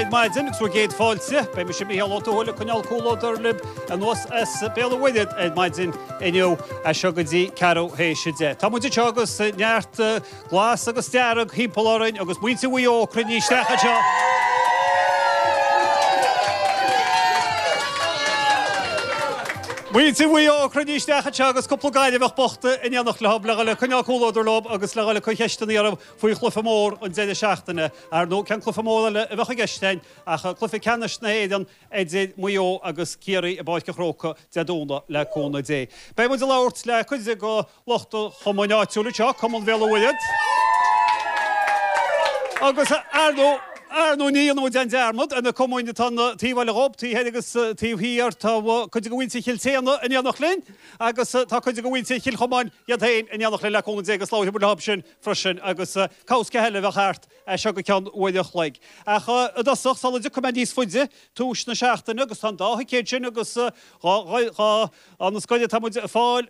ar maidin agus bhur gcéad fáilte. Beidh mise Mícheál Ó Tuathail ag coinneáil comhluadar libh anuas as Béal an Mhuirthead ar maidin inniu as seo go dtí ceathrú théis 10. Tá muid anseo agus neart glas agus dearg thimpeall orainn agus muintir Mhaigh Eo cruinnithe isteach anseo. Muintir Mhaigh Eo cruinnithe isteach anseo agus cúpla Gaillimheach bocht in éineacht leo le dhul ag coinneáil comhluadar leo agus le dhul ag cur cheisteanna orthu faoi chluiche mór an deireadh seachtaine. Ar ndóigh, cén cluiche mór eile a bheadh i gceist againn ach cluiche ceannais na hÉireann idir Maigh Eo agus Ciarraí i bPáirc an Chrócaigh Dé Domhnaigh le cúnamh Dé. Beidh muid ag labhairt le cuid de lucht an chumainn áitiúil anseo, Cumann Bhéal an Mhuirthead. Agus ar ndóigh, ar ndóigh ní dhéanfaidh muid aon dearmad ar na cumainn atá an taobh eile dhób, taobh thoir agus taobh thiar. Tá cuid de mhuintir Chill tSéadhna in éineacht linn agus tá cuid de mhuintir Chill Chomáin iad féin in éineacht linn le cúnamh Dé agus labharfaidh muid leo sin freisin agus cabhsca eile a bheadh thart as seo go ceann uair a chloig. Ach i dtosach, sula dtiocfaidh mé níos faide, tús na seachtaine agus tá an dá thicéad sin agus dhá, dhá, dhá, na scoile atá muid ag fáil.